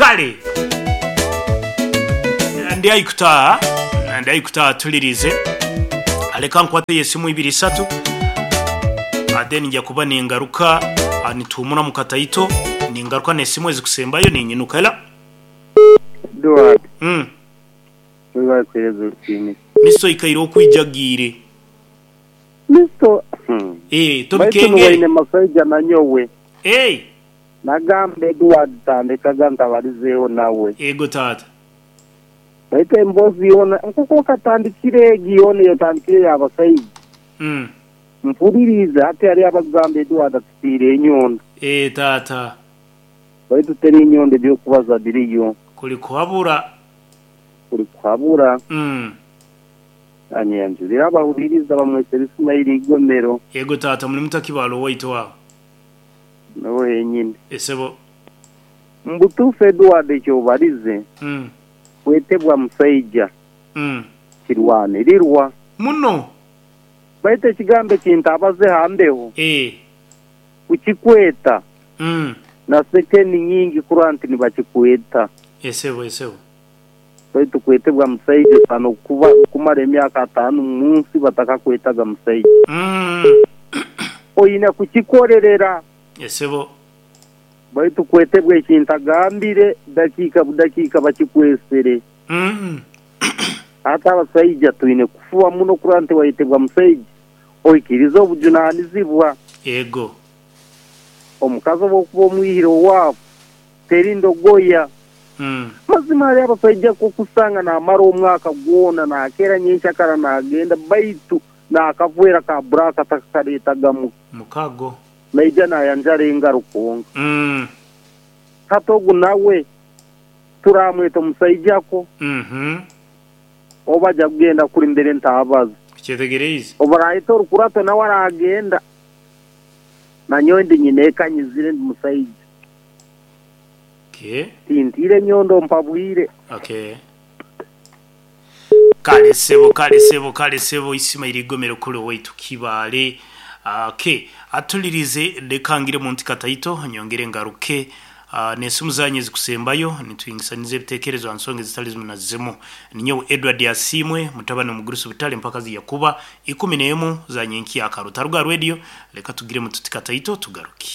Kale ndi haihi kutaaha, ndi haihi kutaaha tulirize. Leka nkwateyo esimu ibiri isatu then nja kuba ningaruka nituhumuramu kataito ningaruka n'esimu ezikusembayo ninyinuka. Hello. Edward, Webale kuhereza orutiinisa. Mister oikaire okwijagiire. Mister, Baitu Tobikengere. niwaine masaija nanyowe. Eh. Nagamba Edward tandekaga ntabalizeeho nawe. Ego taata. Baitu emboozi yoona nkoku okatandikire egi yoona eyotandikire ey'abasaija. Mpuliriize hati hariyo abakugamba Edward atutiire enyondo. Eh taata. Baitu teri nyondo eby'okubaza biriyo. Kuli kuhabura. Kuli kuhabura. Anyanjulire abahuliriza bamwesere Ismail Igomero. Ego taata muli mutakibale owaitu aho. Nuwe henyini. Esebo. Mubutuufu Edward ekyobalize kwetebwa musaija kirwanirirwa. Muno. Baitu ekigambo ekintabaze ha mbeho kukikweta na sekeni nyingi kurora nti nibakikweta. Esebo esebo. Baitu kwetebwa musaija osaana okuba kumara emyaka ataano omu nsi batakakwetaga musaija. Oine kukikorerera. Esebo. Baitu kwetebwa ekintagambire dakiika budakiika bakikwesere. Hati abasaija twine kufuba muno kurora nti wayetebwa musaija oikirize obujunanizibwa. Ego. Omukazi obu okuba omwihire owaabu teri ndogoya. Mazima hariyo abasaija okusanga naamara omwaka gwona nakeera nyenkyakara naagenda baitu naakavwera ka buraaka takakareetagamu. Mukago. Naija naayanjara engaro kwonka. Hati ogu nawe turaamweta omusaija kwo? Oba aja kugenda kuri mbere ntaabaza. Okyetegereize? Obu araaheta orukurato nawe araagenda. Nanyowe ndi nyineeka nyizire ndi musaija. Okay. Tintiire nyondo mpabwire. Okay. Kale sebo, kale sebo, kale sebo Isimaili Igomero kule owaitu Kibaale. Okay, atulirize leka ngire muntu kataito nyongere ngaruke n'esimu zanyu ezikusembayo nitwingisaniza ebitekerezo ha nsonga ezitali zimu na zimu. Ninyowe Edward Asiimwe mutabani omugurusi butale mpaka ziyakuba 11 za nyenkya akaruta ruga radio leka tugiremu tuti kataito tugaruke.